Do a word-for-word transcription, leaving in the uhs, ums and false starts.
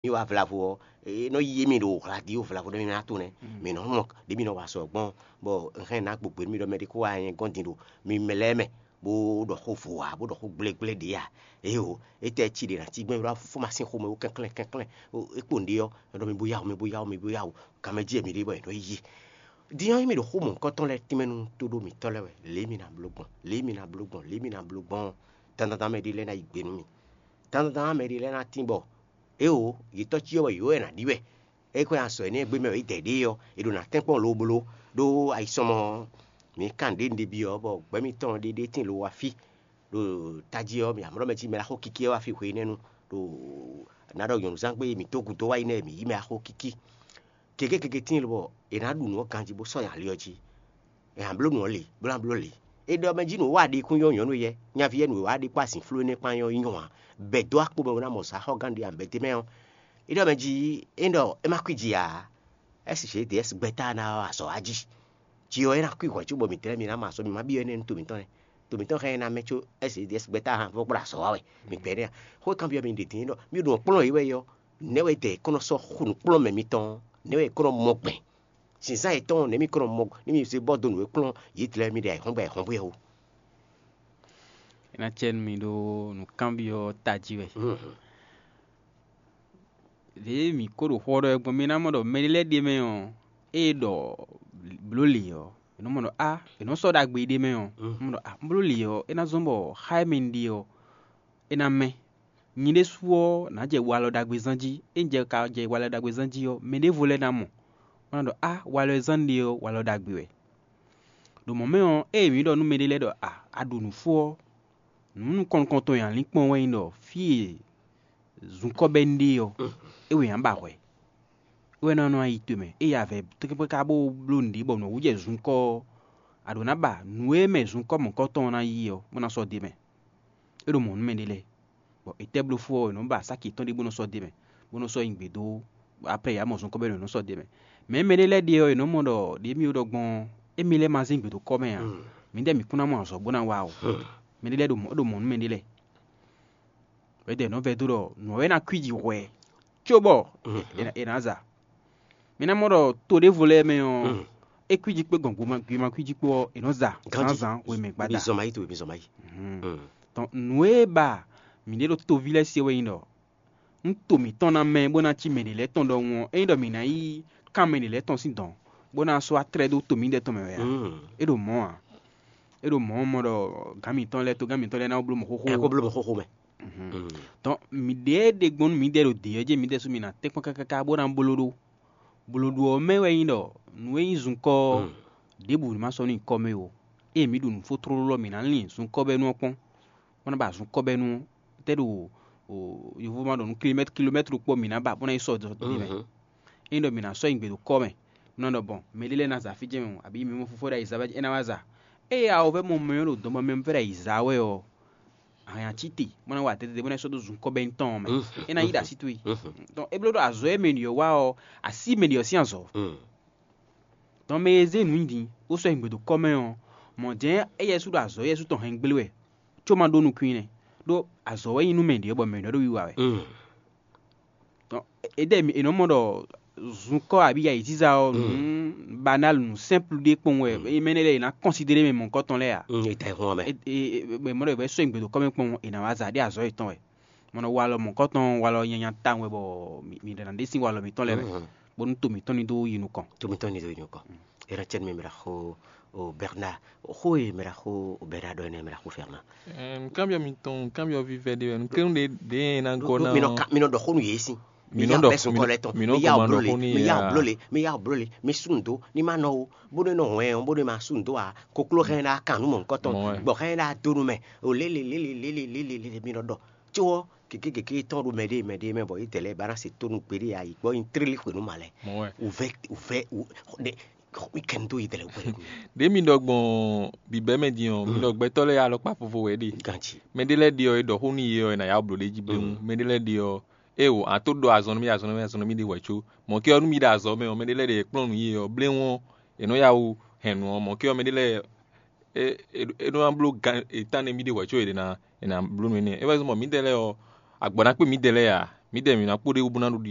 mì wá vlavo ɔ́, é nɔ yí mì ɖo hlaɖi ɖo vlavo ɖé mì ná to nɛ́. Mǐ nɔ mɔ ɖě mì nɔ wa sɔ gbɔn, bɔ un hɛn ná gbogbe nú mì ɖɔ mɛ ɖé kó wá nyɛ gɔ́n din ɖo mi mɛ lɛ́ɛ mɛ, bó ɖɔ xó vo ǎ, bó ɖɔ xó gblégblé ɖě ǎ. Éeǒ, étɛ́ cí ɖě ná cí gbɛ́ ɖó afúfú ma sín xomɛ ó kɛnklɛ́n kɛnklɛ́n. Ó, é kpo nǔɖé ɔ́, é ɖɔ mi bó yá wǔ, mi bó yá wǔ, mi bó yá wǔ. Kan mɛ jí wɛ mǐ ɖe bɔ è nɔ yí. Din ɔ́, ényí mì ɖo xó mɔ̌hunkɔtɔn lɛ́ɛ tínmɛ nú tóɖó mǐtɔn lɛ́ɛ wɛ, lě e mi ná bló gbɔn, lě e mi ná bló gbɔn, lě e mi ná bló gbɔn ɔ́, dandandan mɛ ɖé lɛ́ɛ ná yí gbe nú mì. Dandandan mɛ ɖé lɛ́ɛ ná tín bɔ éeǒ, yě tɔ́ cyɔ wɛ yě wɛ è nǎ ɖi wɛ. É xwé azɔ̌ énɛ́ e gbé mɛ wɛ é dɛ ɖě ɔ́, è ɖo nǎ tɛ́nkpɔ́n lobló ɖó ayisɔmɔ ɔ́. Mǐ kan ɖě un ɖe byɔ́ bɔ gbɛ́ mitɔn ɖé ɖé tín lo wá fí ɖo tají ɔ́, mǐ amlɔ́ mɛ cí mɛ ná xo kikí ɔ́ wá fí hwe énɛ́ nu ɖo nǎ ɖɔ nyɔ̌nuzángbe e mǐ dó gǔdo wá yi nɛ́ mǐ yí mɛ axo kíkí. Gěgé gěgé tíin lobɔ è nǎ ɖu nǔ ɔ́ ganjí bó sɔ́ nyi ali ɔ́ jí. È nǎ bló nǔ ɔ́ lě, bó ná bló lě. È ɖɔ mɛ jí nǔ wa ɖi kún nyɔ́ nyɔ̌nu yɛ, nyaví yɛ nǔ e wa ɖi kpó azinflú énɛ́ kpán nyɔ́ nyí nyɔ́ ǎ. Bɛ̌ dó akpo mɛ bó ná mɔ zǎxɔ́gán ɖé ǎ, bɛ̌ d'é mɛ ɔ́. É ɖɔ mɛ jí é ɖɔ é má kwí ji ǎ. S G D S gbɛ́ta ná wá azɔ̌ wá jí. Jí ɔ́, é ná kwí hwɛ̌ cóbɔ mǐ tlɛ́ mi ná mɔ azɔ̌, mǐ má byɔ́ énɛ́ nú to mǐtɔn lɛ́ɛ. To mǐtɔn hɛn ná mɛ có S G D S gbɛ́ta han fó kplá azɔ̌ wá wɛ. Mǐ gbɛ́ nɛ́ a? Xó e kanbyɔ́ mi ɖe din é ɖɔ mì ɖo nǔ kplɔ́n yě wɛ é ɔ́, nɛ̌ wɛ dɛ è kɔn nɔ sɔ́ xo nǔkplɔ́nmɛ mitɔn ɔ́? Nɛ̌ wɛ è kɔn nɔ mɔ gbɛn? Zǐnzán yětɔn nɛ̌ mi kɔn nɔ mɔ nú mi zé bɔ dó nǔ e kplɔ́n yě tlɛ mi ɖe ayǐhɔ́ngbe ayǐhɔ́ngbe ɔ́? É ná cɛ nú mi ɖó nǔkanbyɔ́ tají wɛ. Lě e mǐ ko ɖo xó ɔ́ ɖɔ wɛ gbɔn, mi ná mɔ ɖɔ mɛɖé lɛ́ɛ ɖ'é mɛ ɔ́, ée ɖɔ blǒ lě ɔ́, è nɔ mɔ ɖɔ á, è nɔ sɔ́ ɖagbe ɖ'é mɛ ɔ́, mɔ ɖɔ á, blǒ lě ɔ́, é ná zɔ́n bɔ xá e mɛ un ɖe ɔ́, é ná mɛ. Nyi ɖésú ɔ́, nǎ jɛ walɔ ɖagbe zán jí. Ényí jɛ ka jɛ walɔ ɖagbe zán jí ɔ́, mɛ ɖěvo lɛ́ɛ ná mɔ, bó ná ɖɔ á, walɔ e zán un ɖe ɔ́, walɔ ɖagbe wɛ. Ɖo mɔ̌ mɛ ɔ́, ée mǐ ɖɔ nú mɛɖé lɛ́ɛ ɖɔ a, a ɖu nǔ fó ɔ́, nǔ nukɔn nukɔntɔn e a lǐn kpɔ́n wɛ nyí ɖɔ fí e zunkɔ́ bɛ́ un ɖe ɔ́, é wɛ a nǎ ba hwɛ̌. É wɛ ná nɔ yi to mɛ, ée a vɛ tlɛ́ngbɛ́ ká bó bló nǔɖé bɔ nǔ ɔ́ wú jɛ zunkɔ́ ɔ́, a ɖǒ ná ba nǔ e mɛ zunkɔ́ mɔ̌hunkɔtɔn ɔ́ ná yi ɔ́, bó ná sɔ́ d'é mɛ. É ɖo mɔ̌ nú mɛɖé lɛ́ɛ, bɔ è tɛ́ bló fó ɔ́, è nɔ́ ba sáki yětɔn ɖé bó nɔ́ sɔ́ d'é mɛ, bó nɔ́ sɔ́ nyi gbě dó. Après yě wá mɔ zunkɔ́ bɛ́ nǔ è nɔ́ sɔ́ d'é mɛ. Mɛ̌ mɛɖé lɛ́ɛ ɖe ɔ́, è nɔ́ mɔ ɖɔ ɖě mì ɖɔ gbɔn ɔ́, émí lɛ́ɛ ma zé nyi gbě dó kɔ́ mɛ ǎ. Mǐdɛɛ mǐ kún ná mɔ azɔ̌ bó ná wa o. Mɛɖé lɛ́ɛ ɖo mɔ̌ ɖo mɔ̌ nú mɛɖé lɛ́ɛ. Wědɛɛ nɔ́ vɛ́ dó ɖɔ nǔ ɔ́ wɛ ná kwíji hwɛ, cóbɔ è nǎ- è nǎ za. Mi ná mɔ ɖɔ to ɖěvo lɛ́ɛ mɛ ɔ́, é kwíji kpé gbɔn gbema- gbema kwíji kpó ɔ́, è nɔ za zǎnzǎn hwemɛ gbada. Zɔn mayi to mi zɔn mayi. Tɔn nǔ e ba mǐ ɖe ɖo toví lɛ́ɛ se wɛ nyí ɖɔ nú to mǐtɔn ná mɛ bó ná cí mɛ ɖě lɛ́ɛ tɔn ɖɔhun ɔ́, ényí ɖɔ mǐ ná yí kán mɛ ɖě lɛ́ɛ tɔn sín dɔ̌n, bó ná sɔ́ wá tlɛ́ dó to mǐdɛɛ tɔn mɛ wɛ ǎ. É ɖo mɔ̌ ǎ. É ɖo mɔ̌ mɔ ɖɔ gǎn mǐtɔn lɛ́ɛ, togán mǐtɔn lɛ́ɛ ná wá bló mɔ xóxó. Ɛ kó bló mɔ xóxó mɛ. Tɔn mǐɖée ɖe gbɔn nú mǐdɛɛ ɖo dě ɔ́ jí, mǐdɛɛ sú mǐ ná tɛ́nkpɔ́n káká bó ná bló ɖó. Blǒɖu ɔ́ mɛ wɛ nyí ɖɔ nǔ e nyí zunkɔ́ ɔ́, ɖěbǔ ní ma sɔ́ nú nyǐkɔ mɛ ó. Ée mǐ ɖu nǔ fó tlóló ɔ́, mǐ ná lin zunkɔ́bɛ́nu ɔ́ kpɔ́n, bó ná ba zunkɔ́bɛ́nu ɔ́, tɛ́ ɖo yovo ma ɖɔ nú kilomɛ́tlu kilomɛ́tlu kpɔ́ mǐ ná ba bó ná yi sɔ́ dɔ̌n ɖ'é mɛ. Ényí ɖɔ mǐ ná sɔ́ nyi gbe ɖo kɔ́ mɛ, bó ná ɖɔ gbɔn mɛ ɖé lɛ́ɛ ná za fí jɛ́n mɛ o, abǐ mǐ mɔ fofó ɖo ayǐzá wɛ é ná wá za. Ée a ɔ́ vɛ́ mɔ mɛ ɔ́ ɖo dɔnbɔmɛ fɛ́ ɖo ayǐzá wɛ ɔ́, a nǎ cí te, bó ná wa tɛ́tɛ́ bó ná sɔ́ dó zunkɔ́ bɛ́ tɔn ɔ́ mɛ. É ná yí ɖo así towe. Donc é bló ɖɔ azɔ̌ e mɛ ɖi ɔ́ wa ɔ́, así mɛ ɖi ɔ́ sín azɔ̌. Donc mɛ e zé nǔ nyi din, bó sɔ́ nyi gbe ɖo kɔ́ mɛ ɔ́, mɔ̌ jɛ́n éyɛ́ sú ɖo azɔ̌ éyɛ́ sú tɔn hɛn gblé wɛ, có ma ɖó nukún i nɛ́. Ɖó azɔ̌ wɛ nyí nú mɛ ɖě ɔ́, bɔ mɛ ɖě ɔ́ ɖo wiwa wɛ. Donc édɛ́ è nɔ mɔ ɖɔ zunkɔ́ abǐ yayǐziza ɔ́, nǔ banal, nǔ simple ɖé kpɔ́n wɛ. Mɛ énɛ́ lɛ́ɛ è nǎ considérer mɛ mɔ̌hunkɔtɔn lɛ́ɛ ǎ. È ta ɛ hɔn wɛ mɛ. È mɔ ɖɔ è vɛ́ sɔ́ nyi gbe ɖo kɔ́ mɛ kpɔ́n, è nǎ wá za ɖé azɔ̌ yětɔn wɛ. Mɔ nɔ walɔ mɔ̌hunkɔtɔn, walɔ nyanya tawun wɛ bɔ mǐ ɖe ná ɖe sín walɔ mǐtɔn lɛ́ɛ mɛ, bónú to mǐtɔn ní dó yi nukɔn. To mǐtɔn ní dó yi nukɔn. Era cɛn mi mira xo o Bernard, xo e mira xo o Bernard ɖɔ ne mira xo Fernand. Nukánbyɔ́ mitɔn, nukánbyɔ́ vívɛ́ ɖé wɛ. Nukɛ́nú ɖé ɖě e ná gɔ́ ná mi nɔ ɔ́, ka- mi nɔ ɖɔ xó nú yě si. Mi Mi nɔ yá ɖɔ- bɛ́ sukɔ mi- lɛ tɔn. Mi nɔ Mi yá kɔn ma ɖɔ bló le. Xó n'i Mi yá ǎ. Bló le. Mi yá bló le. Mi sú ndo. Ní má nɔ o. Bó nɔ nɔ hwɛn o. Bó nɔ ma sú ndo a. Kokló hɛn ɖá kan nú mɔ̌hunkɔtɔn. Mɔ̌ wɛ. Gbɔ̌ hɛn ɖá dó nú mɛ. O lé lé lé lé lé lé lé lé lé. Mi nɔ ɖɔ. Có ɔ́, kékékéké tɔn ɖo mɛ ɖé mɛ ɖé mɛ bɔ yě tɛ lɛ́ɛ ba ná se tónú gbeɖé a yi gbɔ nyi tlílí xwenu ma lɛ. Mɔ̌ wɛ. Uvɛ uvɛ u ne mi kɛn dó yě tɛ lɛ́ɛ wɛ. Ɖě mi ɖɔ gbɔn bǐbɛ́ mɛ din ɔ́, mi ɖɔ gbɛtɔ́ lɛ́ɛ alɔkpa vovo wɛ ɖe. Ganji. Mɛ ɖé lɛ́ɛ ɖe ɔ́, è ɖɔ xó nú yě ɔ́, è nǎ yá blǒ ɖ'é jí bléwún. Mɛ ɖé lɛ́ɛ ɖe ɔ́, é o, a tó ɖɔ azɔn nú mì, azɔn nú mì, azɔn nú mì ɖe hwɛ̌ có. Mɔ̌ ké ɔ́, nú mi ɖo azɔ̌ mɛ ɔ́, mɛ ɖé lɛ́ɛ ɖe è kplɔ́n nǔ yě ɔ́, bléwún ɔ́, è nɔ́ yá wú hɛn nǔ ɔ́. Mɔ̌ ké ɔ́, mɛ ɖé lɛ́ɛ é é é nɔ ná bló gan è tán nɛ́ mì ɖe hwɛ̌ có è ɖě ná è nǎ bló nú énɛ́. É wɛ zɔ́n bɔ mǐdɛɛ lɛ́ɛ ɔ́, agbɔ̌ ná kpé mǐdɛɛ lɛ́ɛ ǎ. Midɛɛ mǐ ná kpo ɖ'é wú bó ná ɖu ɖiɖɔ.